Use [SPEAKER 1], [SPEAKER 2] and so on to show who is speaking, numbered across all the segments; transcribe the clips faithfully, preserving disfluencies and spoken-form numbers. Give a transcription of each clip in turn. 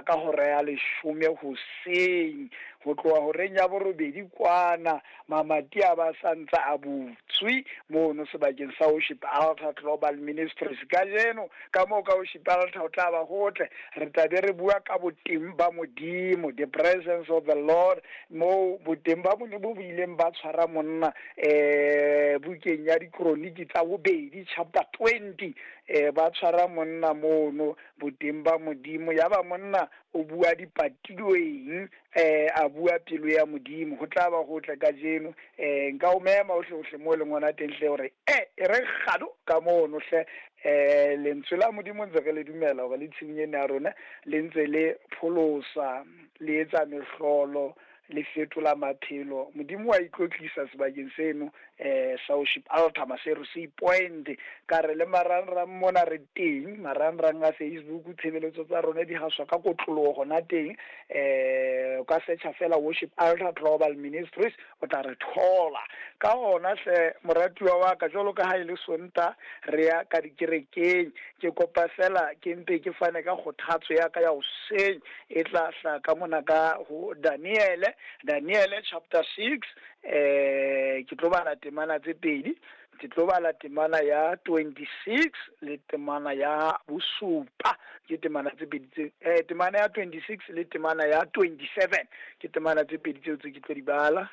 [SPEAKER 1] ka hora ya leshome hoseng, ho tloha horeng ya borobedi kwana mamati a ba sa ntse a butswe mono sebakeng sa Worship Altar Global Ministries. Kajeno ka moo ka Worship Altar ho tla ba hotle, re tla be re bua ka boteng ba Modimo, the presence of the Lord, moo boteng ba Modimo bo ileng ba tshwara monna eh bukeng ya Dikroniki tsa bobedi chapter twenty, eh ba tshwara monna mono boteng ba Modimo. Ya ba monna o bua dipatilweng, eh a bua pelo ya Modimo. Ho tla ba hotle kajeno, eh nka o mema hohle hohle mo leng hona teng hle hore eh e re kgado ka mono hle. Eh lentswe la Modimo ntse re le dumela hore le tshimong ena ya rona le ntse le pholosa, le etsa mehlolo, le fetola maphelo. Modimo wa ikwetlisa sebakeng seno eh sa Worship Altar Maseru Sea Point. Ka re le marangrang mona re teng, marangrang a Facebook, tshebeletso tsa rona di haswa ka kotloloho hona teng. Eh o ka searcha fela Worship Altar Global Ministries, o tla re thola. Ka hona hle moratuwa wa ka, jwalo ka ha e le Sontaha re ya ka dikerekeng, ke kopa fela ke mpe ke fane ka kgothatso ya ka ya hoseng e tla hla ka mona ka ho Daniele, Daniele chapter six. Eh ke tlo bala temana tse pedi, ke tlo bala temana ya twenty-six le temana ya bosupa. Ke temana tse pedi tse, eh temana ya twenty-six le temana ya twenty-seven, ke temana tse pedi tseo tse ke tlo di bala.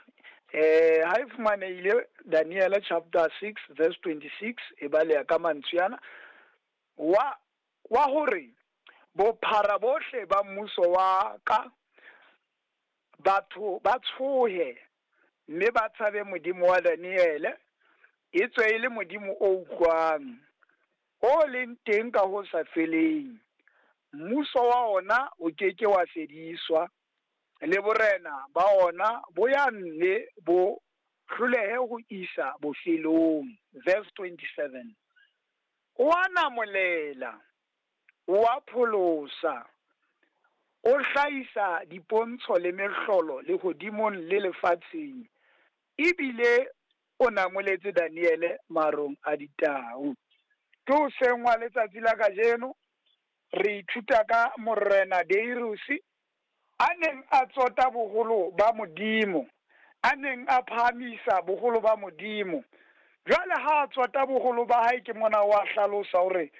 [SPEAKER 1] Eh ha e fumanehile Daniele chapter six verse twenty-six, e baleha ka mantswe ana wa, wa hore bophara bohle ba mmuso wa ka batho ba tshohe mme ba tshabe Modimo wa Daniele, etswe e le Modimo o utlwang, o leng teng ka ho sa feleng. Mmuso wa ona o ke ke wa fediswa, le borena ba ona bo ya nne bo hlolehe ho isa bofelong. Verse twenty-seven, o a namolela, o a pholosa, o hlahisa dipontsho le mehlolo lehodimong le lefatsheng, ebile o namoletse Daniele marong a ditau. Ke hoseng wa letsatsi la kajeno re ithuta ka Morena Darius a neng a tsota boholo ba Modimo, a neng a phahamisa boholo ba Modimo. Jwale ha a tsota boholo ba hae, ke mona wa hlalosa hore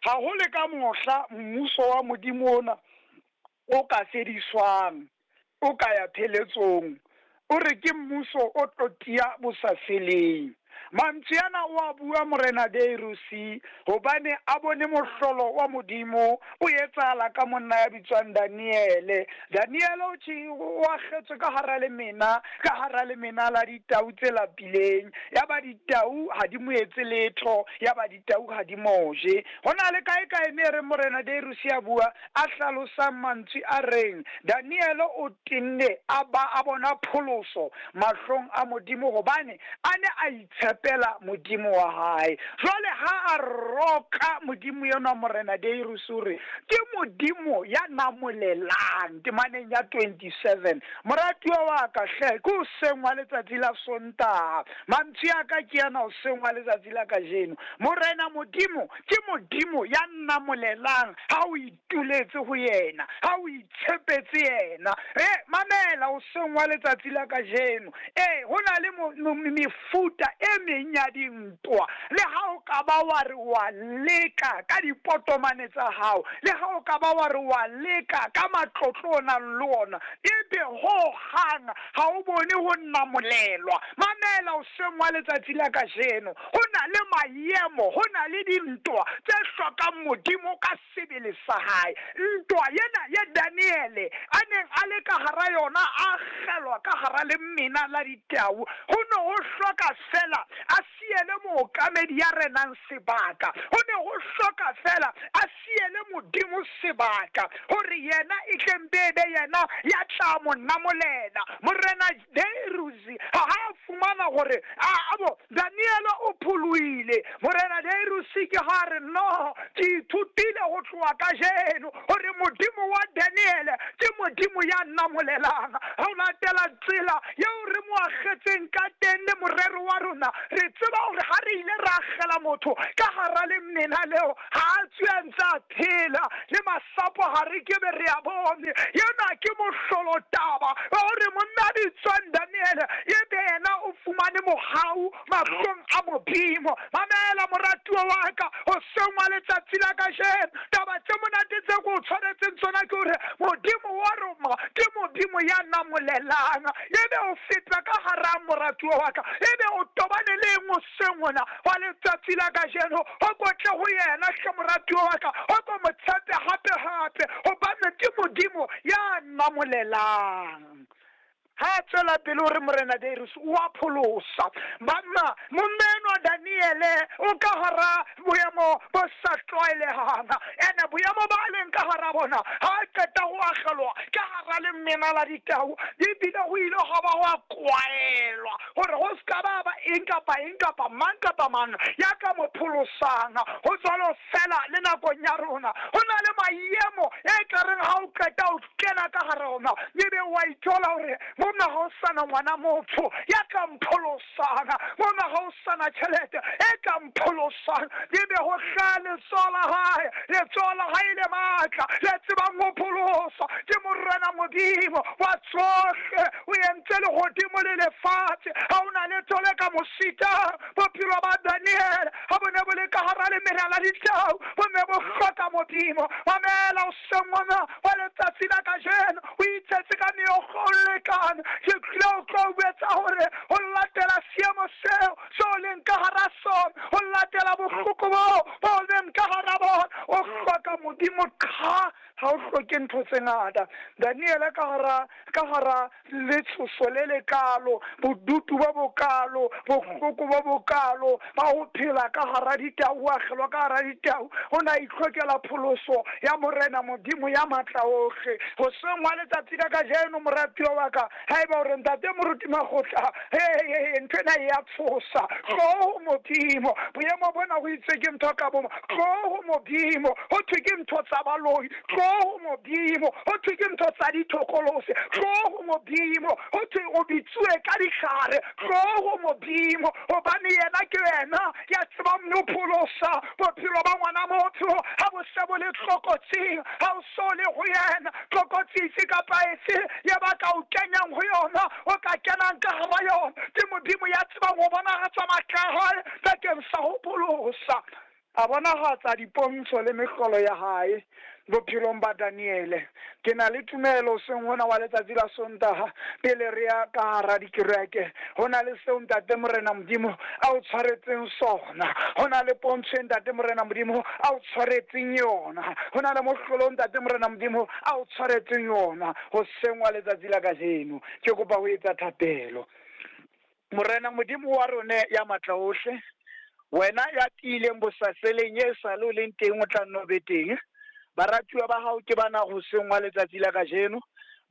[SPEAKER 1] ha ho le ka mohla mmuso wa Modimo ona o ka fediswang, o ka ya pheletsong, o re ke mmuso o tlo tiya bo sa feleng. Mantswe ana o a bua Morena Darius hobane a bone mohlolo wa Modimo o etsahala ka monna ya bitswang Daniele. Daniele o tjhe o akgetswe ka hara lemena, ka hara lemena la ditau tse lapileng. Ya ba ditau ha di mo etse letho, ya ba ditau ha di mo je. Ho na le kae kae me re Morena Darius ya bua a hlalosang mantswe a reng Daniele o tenne a ba a bona pholoso mahlong a Modimo hobane a ne a itshepela Modimo wa hae. Jwale ha a roka Modimo yena Morena Darius o re ke Modimo ya namolelang, temaneng ya twenty-seven. Moratuwa wa ka hle, ke hoseng wa letsatsi la Sontaha. Mantswe a ka ke ana hoseng wa letsatsi la kajeno. Morena Modimo ke Modimo ya namolelang ha o ituletse ho yena, ha o itshepetse yena. Eh mamela hoseng wa letsatsi la kajeno. Eh ho na le mefuta e meng ya dintwa, le ha o ka ba wa re wa leka ka dipotomane tsa hao, le ha o ka ba wa re wa leka ka matlotlo o nang le ona, ebe ho hang ha o bone ho namolelwa. Mamela hoseng wa letsatsi la kajeno, ho na le maemo, ho na le dintwa tse hlokang Modimo ka sebele sa hae. Ntwa yena ya Daniele a neng a le ka hara yona, a kgelwa ka hara lemena la ditau, ho ne ho hloka fela a siele mookamedi ya renang sebaka, ho ne ho hloka fela a siele Modimo sebaka hore yena e tle mpe be yena ya tla mo namolela. Morena Darius ha a fumana hore a bo Daniele o pholoile, Morena Darius ke ha re no, ke ithutile ho tloha kajeno hore Modimo wa Daniele ke Modimo ya namolelang. Ha o latela tsela eo re mo mo akgetseng ka teng le morero wa rona. Re tseba hore ha re ile ra akgela motho ka hara lemena leo, ha a tswe a ntse a phela, le masapo ha re ke be re a bone. Ena ke mohlolo taba wa hore monna a bitswang Daniele ebe yena o fumane mohau mahlong a Modimo. Mamela moratuwa wa ka, hoseng wa letsatsi la kajeno, taba tse monate tse ke o tshwanetseng tsona ke hore Modimo wa rona ke Modimo ya namolelang. Ebe o feta ka hara moratuwa wa ka, ebe o tobane le eng hoseng hona wa letsatsi la kajeno? O kotle ho yena hle moratuwa wa ka, o ko mo tshepe hape hape, hobane ke Modimo ya namolelang. Ha tswela pele hore Morena Darius o a pholosa. Banna, monna enwa Daniele o ka hara boemo bo sa tlwaelehang. Ene boemo ba leng ka hara bona, ha a qeta ho akgelwa ka hara lemena la ditau, ebile ho ile ha ba hwa kwaelwa hore ho ska ba ba eng kapa eng kapa mang kapa mang ya ka mo pholosang. Ho jwalo fela le nakong ya rona, ho na le maemo e ka reng ha o qeta o kena ka hara ona, ebe wa ithola hore mona ha o sana ngwana motho ya ka mpholosang, mona ha o sana tjhelete e ka mpholosang. Ebe ho hlaha letsoho la hae, letsoho la hae le matla, le tsebang ho pholosa. Ke Morena Modimo wa tsohle, o entse lehodimo le lefatshe, ha o na letho le ka mo sitang. Bophelo ba Daniele ha bo ne bo le ka hara lemena la ditau, bo ne bo hloka Modimo. Mamela hoseng hona wa letsatsi la kajeno, o itshetse ka meokgo o lekane. Ke tlile ho tlo etsa hore ho latela seemo seo seo leng ka hara sona, ho latela bohloko boo bo leng ka hara bona, o hloka Modimo qha, ha o hloke ntho tse ngata. Daniele ka hara ka hara letshoso le lekalo, bodutu bo bokalo, bohloko bo bokalo ba ho phela ka hara ditau, o akgelwa ka hara ditau, o na itlhokela pholoso ya Morena Modimo ya matla ohle. Hoseng wa letsatsi la kajeno, moratuwa wa ka, haeba o re ntate moruti Makgotla, he ntho ena e ya tshosa, tloho ho Modimo. Boemo bona ho itse ke ntho ka bomo, tloho ho Modimo. Ho thwe ke ntho tsa baloi, tloho ho Modimo. Ho thwe ke ntho tsa dithokolose, tloho ho Modimo. Ho thwe o bitsuwe ka dihlare, tloho ho Modimo. Hobane yena ke yena ya tsebang ho pholosa bophelo ba ngwana motho ha bo se bo le tlokotsing, ha o so le ho yena. Tlokotsi efe kapa efe ya ba ka o kenyang ho yona, o ka kenang ka hara yona, ke Modimo ya tsebang ho bonahatsa matla a hae bakeng sa ho pholosa. A bonahatsa dipontsho le mehlolo ya hae bophelong ba Daniele. Ke na le tumelo hoseng hona wa letsatsi la Sontaha, pele re ya ka hara dikereke, ho na le seo ntate Morena Modimo a o tshwaretseng sona, ho na le pontsho e ntate Morena Modimo a o tshwaretseng yona, ho na le mohlolo ntate Morena Modimo a o tshwaretseng yona hoseng wa letsatsi la kajeno. Ke kopa ho etsa thapelo. Morena Modimo wa rona ya matla ohle, wena ya tiileng bosaseleng e sa le o leng teng, o tla nno be teng. Baratuwa ba hao ke bana hoseng wa letsatsi la kajeno,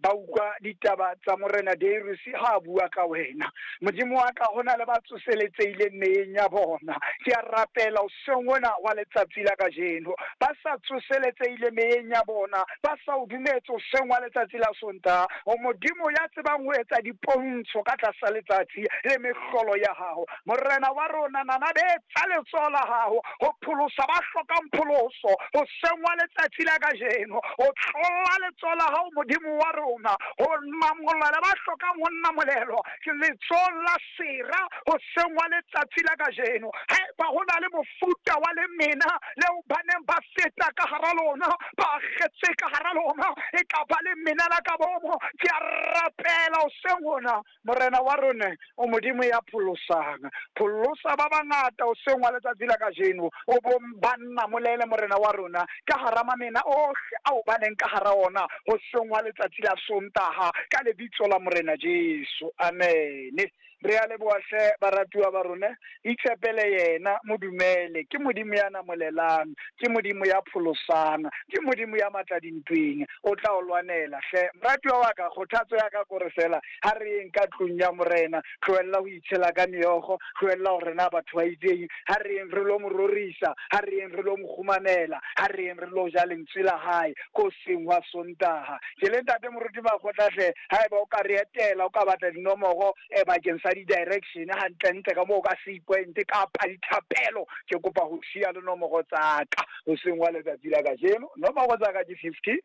[SPEAKER 1] ba utlwa ditaba tsa Morena Darius ha a bua ka wena. Modimo wa ka, ho na le ba tsoseletsehileng meyeng ya bona. Ke a rapela hoseng hona wa letsatsi la kajeno, ba sa tsoseletsehile meyeng ya bona, ba sa o dumetse hoseng wa letsatsi la Sontaha. O Modimo ya tsebang ho etsa dipontsho ka tlasa letsatsi le mehlolo ya hao. Morena wa rona, nanabetsa letsoho la hao ho pholosa ba hlokang pholoso hoseng wa letsatsi la kajeno. O tlola letsoho la hao, Modimo wa rona, ho namolela ba hlokang ho namolelwa ke letsoho la sera hoseng wa letsatsi la kajeno. Haeba ho na le mofuta wa lemena leo ba neng ba feta ka hara lona, ba akgetse ka hara lona, e ka ba lemena la ka bomo, ke a rapela hoseng hona, Morena wa rona, o Modimo ya pholosang. Pholosa ba bangata hoseng wa letsatsi la kajeno, o bo ba namolele Morena wa rona ka hara mamena ohle ao ba neng ka hara ona hoseng wa letsatsi la Sontaha, ka lebitso la Morena Jesu. Amen. Re a leboha hle baratuwa ba rona, itshepele yena, mo dumele. Ke Modimo ya namolelang, ke Modimo ya pholosang, ke Modimo ya matla dintweng, o tla o lwanela hle. Moratuwa wa ka, kgothatso ya ka kore fela ha re yeng ka tlung ya Morena, tlohella ho itshela ka meokgo, tlohella hore na batho ba itseng, ha re yeng re lo mo rorisa, ha re yeng re lo mo kgumamela, ha re yeng re lo ja lentswe la hae ko hoseng hwa Sontaha. Ke le ntate Moruti Makgotla hle, haeba o ka re etela, o ka batla dinomoro eh, bakeng sa di-direction hantlentle ka moo ka Sea Point kapa dithapelo, ke kopa ho siya le nomoro tsa ka hoseng wa letsatsi la kajeno. Nomoro tsa ka ke fifty,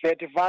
[SPEAKER 1] thirty-five,